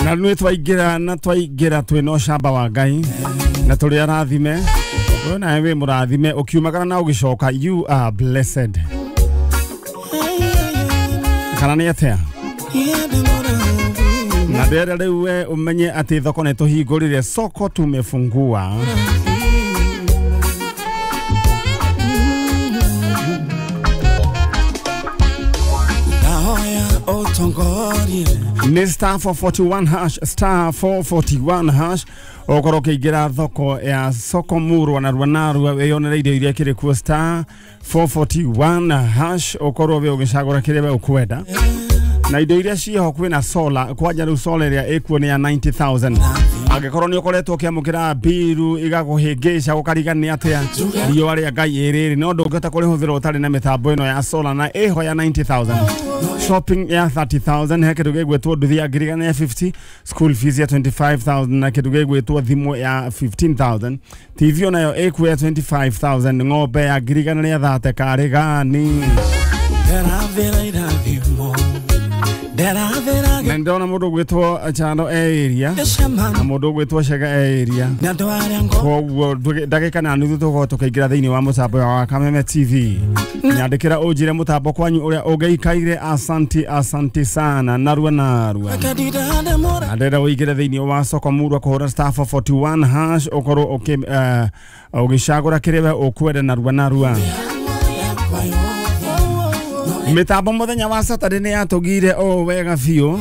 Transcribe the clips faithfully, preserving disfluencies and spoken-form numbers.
Na nĩ twaingĩra na twaingĩra twĩna ũcamba wa Ngai na tũrĩ arathime. We nawe wĩ mũrathime ũkiumagara na ũgĩcoka, you are blessed. Kana nĩ atĩa? Na ndĩrenda rĩu we ũmenye atĩ thoko nĩ tũhingũrire, soko tumefungua. Ni star four forty-one hash, star four forty-one hash. Okorwo ũkĩingĩra thoko ya soko murwa na rua narua wĩyonere indo iria kĩrĩ kuo, star four forty-one hash, ũkorwo wĩ ũgĩcagũra kĩrĩa we ũkwenda. Na indo iria ciĩho kwĩna solar, kwanja rĩu solar ĩrĩa ĩkuo nĩ ya ninety thousand. Angĩkorwo nĩ ũkoretwo ũkĩamũkĩra mbiru igakũhĩngĩca ũkariga nĩ atĩa riũa rĩa Ngai ĩrĩrĩ, no ndũngĩhota kũrĩhũthĩra ũtarĩ na mĩtambo ĩno ya solar na ĩho ya ninety thousand. Shopping ya thirty thousand, he kĩndũ gĩgwĩtwo nduthi ya ngiri igana ya fifty, school fees ya twenty-five thousand na kĩndũ gĩgwĩtwo thimũ ya fifteen thousand. T V onayo ĩkuo ya twenty-five thousand, ng'ombe ya ngiri igana rĩa thate karĩ gani. Na ndona mundu gwitwo Chano e area na mundu gwitwo Chega e area, koguo ndagika na nuthu tukorwo tukaingira thiini wa mutambo wa Kameme T V. Nyandikira unjire mutambo kwanyu uria ungeikaire. Asanti, asanti sana narua narua. Na ndĩrenda ũingĩre thĩinĩ wa soko murwa kũhũra star four forty-one hash ũkorwo ũgĩcagũra kĩrĩa we ũkwenda narua narua. Mitambo muthenya wa Saturday ni yatugire o wega biũ,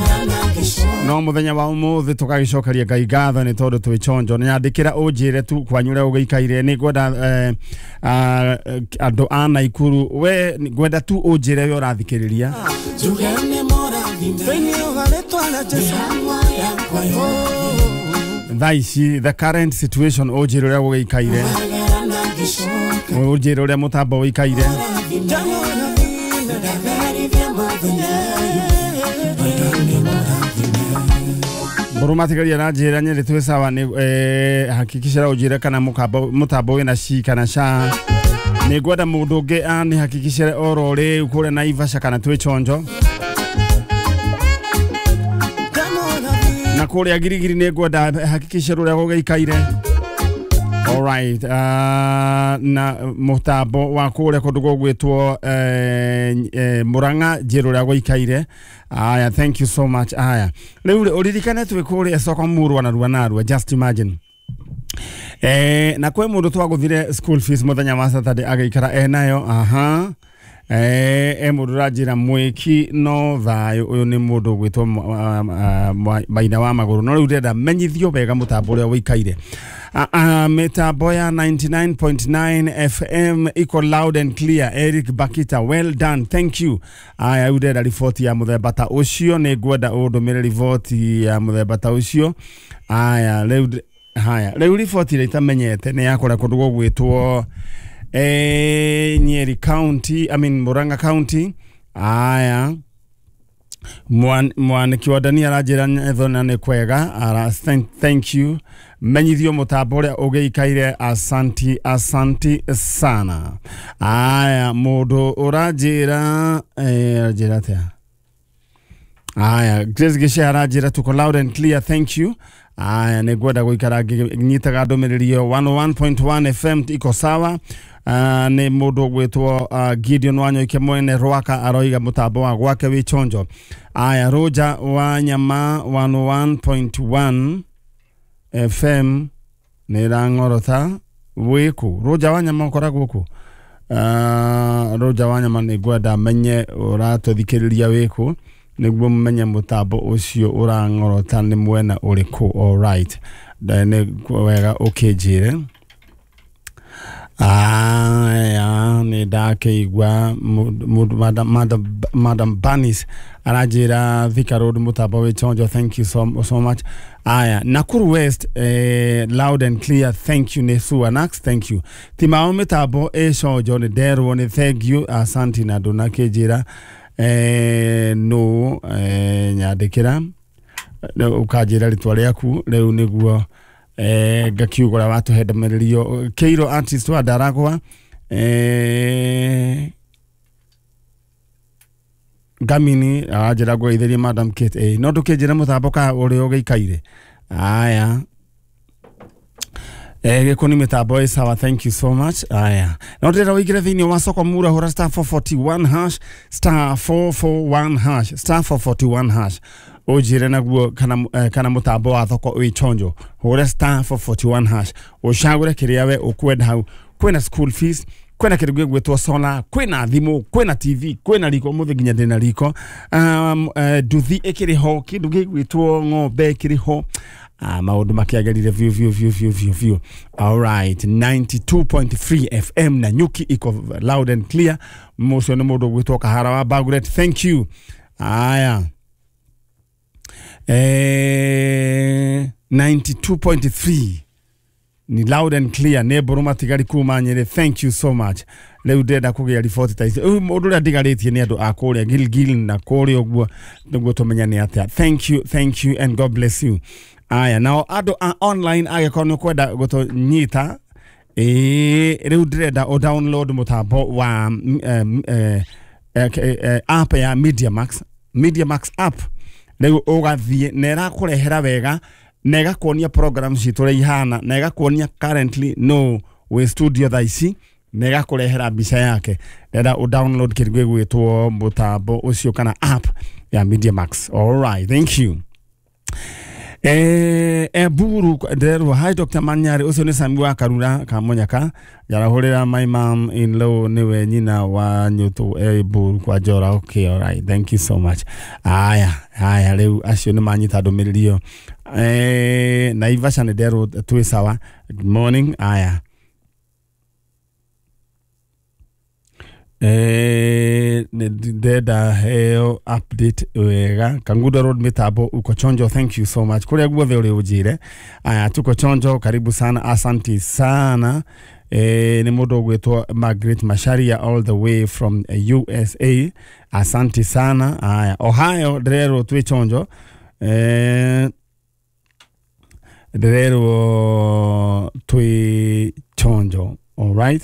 no muthenya wa umuthi tukagicokeria Ngai ngatho ni tondu twi chonjo. Nyandikira unjire tu kwanyu uria ugiikaire. Ni ngwenda andu a Naikuru, we ngwenda tu unjire we urathikiriria. Thaa ici the current situation unjire uria ugiikaire, unjire uria mutambo uikaire. Burumatigaria na njira Nyeri twi sawa ni eh, hakikishira unjire kana mukambo mutambo wina shi kana sha. Ni ngwenda mundu ungi ani hakikishire oro riu kuria Naivasha kana twi chonjo. Na kuria Girigiri ni ngwenda hakikishire uria gugikaire. All right, uh, na mutambo wa kuria kundu gugwitwo eh, eh, Murang'a njiru uria guikaire. Aya, thank you so much. Aya, riu uririkane twi kuria soko murwa na rua narua, just imagine. Eh, na kwe mundu twaguthire school fees muthenya wa Saturday agaikara enayo. Aha. Eh, e mundu ranjira mwiki no thayo uyu ni mundu gwitwo maina wa maguru, no riu ndĩrenda menyithio wega mutambo uria wikaire. Mitambo ya ninety-nine point nine F M iko loud and clear. Eric Bakita, well done, thank you. Aya, riu ndĩrenda riboti ya muthemba ta ucio, ni ngwenda undumire riboti ya muthemba ta ucio. Aya, riu haya, riu riboti ĩrĩa itamenyete ni ya kũrĩa kũndũ gũgwĩtwo eh, Nyeri County, I mean Murang'a County. Aya, mwaniki wa Dania aranjĩra Nyethona nĩ kwega. Ara, thank, thank you. Menyithio mutambo uria ugiikaire. Asanti, asanti sana. Aya, mundu uranjĩra eh, aranjĩra atia? Aya, Grace Gishe aranjĩra tuko loud and clear, thank you. Aya, nĩ ngwenda gũikara ngĩnyitaga ndũmĩrĩri ĩyo. one oh one point one F M iko sawa. Uh, nĩ mũndũ ũgwĩtwo uh, Gideon Wanyoike mwene Rwaka aroiga mũtambo wa gwake wĩ chonjo. Aya, Roger wa Nyama one oh one point one F M nĩ ĩrang'orota wĩkũ. Roger wa Nyama ũkoragwo kũ? Uh, Roger wa Nyama nĩ ngwenda menye ũratũthikĩrĩria wĩkũ nĩguo menye mũtambo ũcio ũrang'orota nĩ mwena ũrĩkũ. All right, nĩ wega ũkĩnjĩre. Aya, nĩ ndakĩigua Madam, Madam, Madam Banis aranjĩra Thika Road mũtambo wĩ chonjo, thank you so, so much. Aya, Nakuru West eh, loud and clear, thank you. Nĩ Suanax, thank you. Timao mĩtambo ĩ chonjo nĩ nderwo nĩ thank you, asanti. Na ndũnakĩnjĩra eh, no eh, nyandĩkĩra ũkanjĩra rĩtwa rĩaku rĩu nĩguo eh, ngakiuga ũrĩa watũhe ndũmĩrĩri ĩyo. Keiro artist wa Ndaragwa eh, Ngamini aranjĩra ngũgeithĩrie Madam Kate. Ĩĩ, no ndũkĩnjĩre mũtambo ka ũrĩa ũgĩikaire. Aya, Eh, gĩkũ nĩ mĩtambo ĩ sawa, thank you so much. Aya, no ndĩrenda ũingĩre thĩinĩ wa soko mura, hũra star four forty-one hash, star four forty-one hash, star four forty-one hash, ũnjĩre naguo kana, eh, kana mũtambo wa thoko wĩ chonjo. Hũra star four forty-one hash, ũcagũre kĩrĩa we ũkwenda hau. Kwĩna school fees, kwĩna kĩndũ gĩgwĩtwo solar, kwĩna thimũ, kwĩna T V, kwĩna riko, ũmũthĩ nginya ndĩna riko, um, uh, nduthi ĩkĩrĩ ho, kĩndũ gĩgwĩtwo ng'ombe ĩkĩrĩ ho. Ah, maũndũ makĩagĩrire biũ biũ biũ biũ biũ biũ. Alright, ninety-two point three F M na nyuki iko loud and clear. Mũcio nĩ mũndũ ũgwĩtwo Kahara wa Bagret, thank you. Aya, eh, ninety-two point three ni loud and clear, nĩ mbũrũ matigari kuma Nyĩrĩ, thank you so much. Rĩu ndĩrenda kũgĩa riboti ta ici. Rĩu ũndũ ũrĩa ndigarĩtie nĩ andũ a kũrĩa Gilgil na kũrĩa ũguo, nĩguo tũmenye nĩ atĩa. Thank you, thank you and God bless you. Aya, nao andũ a online, angĩkorwo nĩ ũkwenda gũtũnyita, ĩĩ, rĩu ndĩrenda ũ download mũtambo wa mm, eh, eh, eh, app ya MediaMax, MediaMax app. Rĩu ũgathiĩ na ĩrakũrehera wega na ĩgakuonia program citũ ũrĩa ihana, na ĩgakuonia currently no wĩ studio thaa ici, na ĩgakũrehera mbica yake. Ndĩrenda ũ download kĩndũ gĩgwĩtwo mũtambo ũcio kana app ya MediaMax. All right, thank you. Eh, Eburu ndĩrerwo hi Doctor Manyari, ũcio nĩ Sami wa Karura Kamunyaka, njarahũrĩra my mom in law, nĩwe nyina wa nyũtũ Eburu kwa Njora. Okay, all right, thank you so much. Aya, aya, rĩu acio nĩ manyita ndũmĩrĩri ĩyo. Eh, Naivasha nĩ nderwo twĩ sawa, good morning. Aya, Eh, ndenda heo update wega. Kangundo Road mitambo uko chonjo, thank you so much. Kuria guothe uri unjire. Aya, tuko chonjo, karibu sana, asanti sana. Eh, ni mundu ugwitwo Margaret Macharia all the way from U S A, asanti sana. Aya, Ohio ndirerwo twi chonjo. Eh, ndirerwo twi chonjo, all right.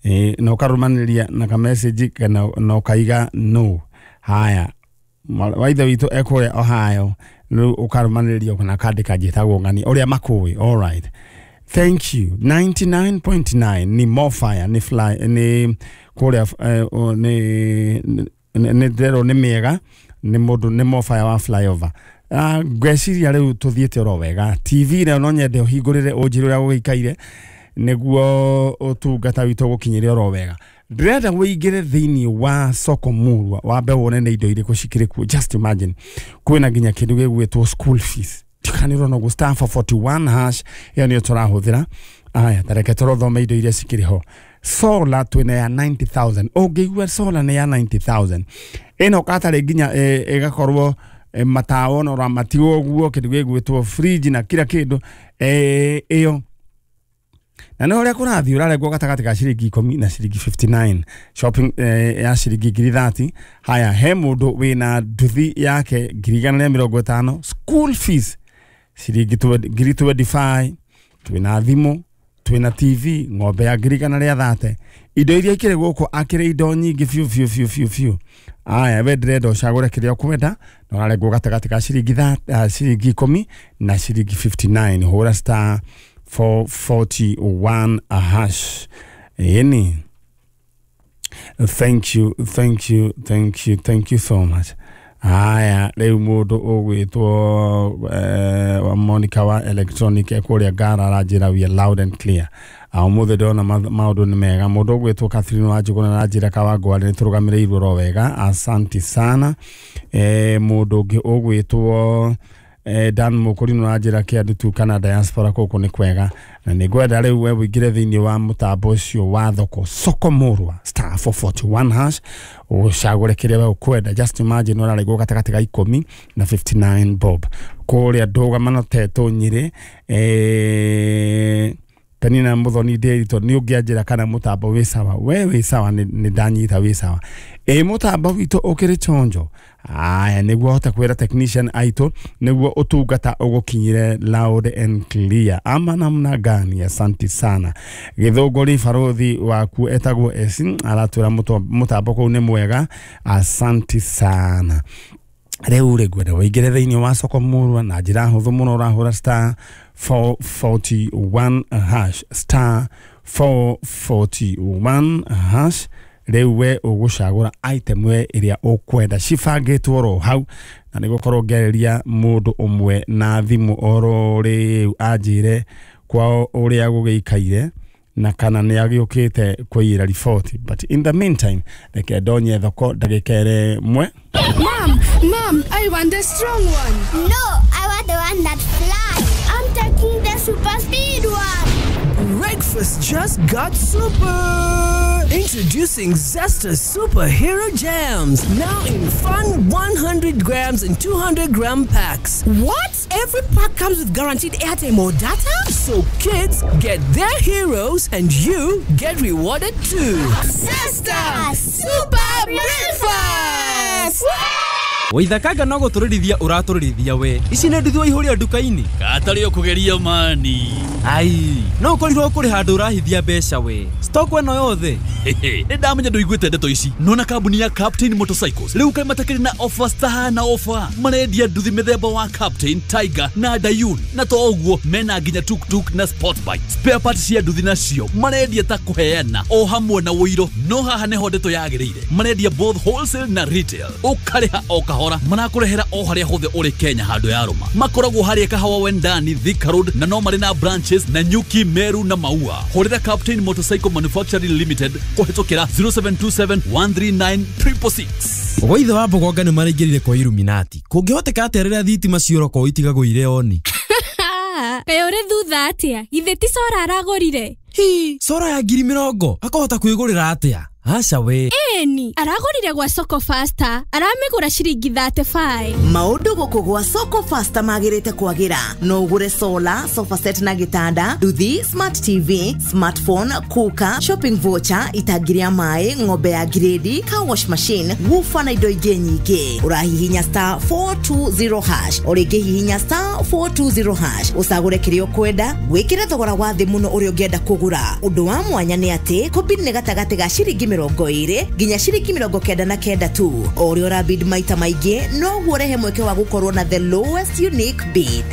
Eh, na ũkarũmanĩria na ka message kana na ũkaiga no. Haya, waithe witũ ekũrĩa Ohio, rĩu ũkarũmanĩria kana kandĩka njĩtagwo ng'ani ũrĩa makũĩ. All right, thank you. ninety-nine point nine ni Mofire, ni fly, ni kũrĩa, eh, ni nĩ ndĩrerwo nĩ mĩega, nĩ mũndũ nĩ Mofire wa flyover. Ah, ngwĩciria rĩu tũthiĩte oro wega. T V nayo no nyende ũhingũrĩre ũnjĩre ũrĩa gũgĩikaire, nĩguo ũtungata witũ gũkinyĩre oro wega. Ndĩrenda wĩingĩre thĩinĩ wa soko murwa, wambe wone nĩ indo irĩkũ cikĩrĩ kuo. Just imagine, kwĩna nginya kĩndũ gĩgwĩtwo school fees. Tikanĩrwo no star four forty-one hash, ĩyo nĩyo tũrahũthĩra. Aya, ta reke tũrothome indo iria cikĩrĩ ho. Solar twĩna ya ninety thousand. Ũngĩigua solar nĩ ya ninety thousand, ĩno katarĩ nginya ĩgakorwo matawa no ramatiwo ũguo, kĩndũ gĩgwĩtwo fridge na kila kĩndũ ĩyo. Na nĩ ũrĩa kũrathiĩ ũrarengwo gatagatĩ ka ciringi ikũmi na ciringi fifty-nine, shopping eh, ya ciringi ngiri thirty. Haya, he mũndũ wĩna nduthi yake ngiri igana rĩa mĩrongo ĩtano, school fees ciringi ngiri twenty-five, twĩna thimũ, twĩna T V, ng'ombe ya ngiri igana rĩa thate. Indo iria ikĩrĩ gũkũ akĩrĩ indo nyingĩ biũ biũ biũ biũ biũ. Aya, we ndĩrenda ũcagũre kĩrĩa ũkwenda, na ũrarengwo gatagatĩ ka ciringi tha-, ciringi ikũmi na ciringi fifty-nine. Hũra star four forty-one hash. Yeni, thank you, thank you, thank you, thank you so much. Aya, rĩu mũndũ ũgwĩtwo eh, wa Monica wa electronic ekũrĩa Ngara aranjĩra we are loud and clear. Ũmũthĩ ndĩrona maũndũ nĩ mega. Mũndũ ũgwĩtwo Catherine wa Njũgũna aranjĩra Kawangware nĩ tũrũgamĩrĩirwo oro wega, asanti sana. Eh, mũndũ ũngĩ ũgwĩtwo Eh, Dan Mũkũrinũ aranjĩra kĩandũ tu kana diaspora kũkũ nĩ kwega, na nĩ ngwenda rĩu we ũingĩre thĩinĩ wa mũtambo ũcio wa thoko soko murwa star four forty-one hash, ũcagũre kĩrĩa we ũkwenda. Just imagine ũrarengwo gatagatĩ ka ikũmi na fifty-nine bob. Kũrĩa ndũgamano tetũ Nyĩrĩ, eh, Penina Muthoni Ndĩritũ, nĩ ũngĩanjĩra kana mũtambo wĩ sawa. We wĩ sawa, nĩ nĩ ndanyita wĩ sawa. Ĩ mũtambo witũ ũkĩrĩ chonjo. Aya, nĩguo hote kwĩra technician aitũ nĩguo ũtungata ũgũkinyire loud and clear ama namna gani. Asanti sana. Gĩthũngũri barothi waku etagwo Esi aratwĩra mũto- mũtambo kũu nĩ mwega. Asanti sana. Rĩu rĩ, ngwenda ũingĩre thĩinĩ wa soko murwa na njĩra hũthũ mũno. Ũrahũra star four forty-one hash, star four forty-one hash. Rĩu we ũgũcagũra item we ĩrĩa ũkwenda, cibangĩtwo oro hau, na nĩ gũkorwo ngĩarĩria mũndũ ũmwe na thimũ oro rĩu anjĩre kwao ũrĩa gũgĩikaire na kana nĩ agĩũkĩte kũiyĩra riboti. But in the meantime, reke ndonye thoko ndagĩka ĩmwe. Mom, Mom, I want the strong one. No, I want the one that flies. I'm taking the super speed one. Breakfast just got super! Introducing Zesta Superhero Jams, now in fun one hundred grams and two hundred gram packs. What? Every pack comes with guaranteed airtime or data? So kids get their heroes and you get rewarded too. Zesta Super Breakfast! Waithakanga no gũtũrĩrithia ũratũrĩrithia we. Ici nĩ nduthi waihũria nduka-inĩ. Katarĩ ũkũgeria mani. Ai, no ũkorirwo kũrĩ handũ ũrahithia mbeca we. Stock ĩno yothe. Nĩ ndamenya ndũiguĩte ndeto ici. Nona kambuni ya Captain Motorcycles rĩu kaĩ matakĩrĩ na offers tahana offer. Marendia nduthi mĩthemba wa Captain, Tiger na Dayun, na to ũguo mena nginya tuktuk na sport bike. Spare parts cia nduthi nacio marendia ta kũheana o hamwe na ũiro. No haha nĩho ndeto yagĩrĩire, marendia both wholesale na retail, ũkarĩha o kahora, marakũrehera o harĩa hothe ũrĩ Kenya handũ ya rũma. Makoragwo harĩa Kahawa Wendani, Thika Road, na no marĩ na branches na Nyuki, Meru na Maua. Hũrĩra Captain Motorcycle Manufacturing Limited kũhĩtũkĩra zero seven two seven one three nine six six six. Gwaithe wa Mbogonga nĩ maraingĩrire kwa Illuminati. Kũngĩhoteka atĩa rĩrĩa thitima ciora kwao itigagũire oni? Kaĩ ũrĩ thutha atĩa? Githĩ ti cora aragũrire? Hi, cora ya ngiri mĩrongo akahota kwĩgũrĩra atĩa? Aca we. Ĩni, aragũrire gwa Soko Faster, aramĩgũra ciringi thirty-five. Maũndũ gũkũ gwa Soko Faster magĩrĩte kwagĩra. No ũgũre solar, sofa set na gĩtanda, nduthi, smart T V, smartphone, cooker, shopping voucher, itangi rĩa maĩ, ng'ombe ya grade, car wash machine, woofer na indo ingĩ nyingĩ. Ũrahihinya star four two zero hash, o rĩngĩ hihinya star four two zero hash, ũcagũre kĩrĩa ũkwenda, wĩkĩre thogora wa thĩ mũno ũrĩa ũngĩenda kũgũra. Ũndũ wa mwanya nĩ atĩ kũbid nĩ gatagatĩ ga ciringi mĩrongo ĩrĩ nginya ciringi mĩrongo kenda na kenda tu. O ũrĩa ũrabid maita maingĩ, noguo ũrehe mweke wa gũkorwo na the lowest unique bid.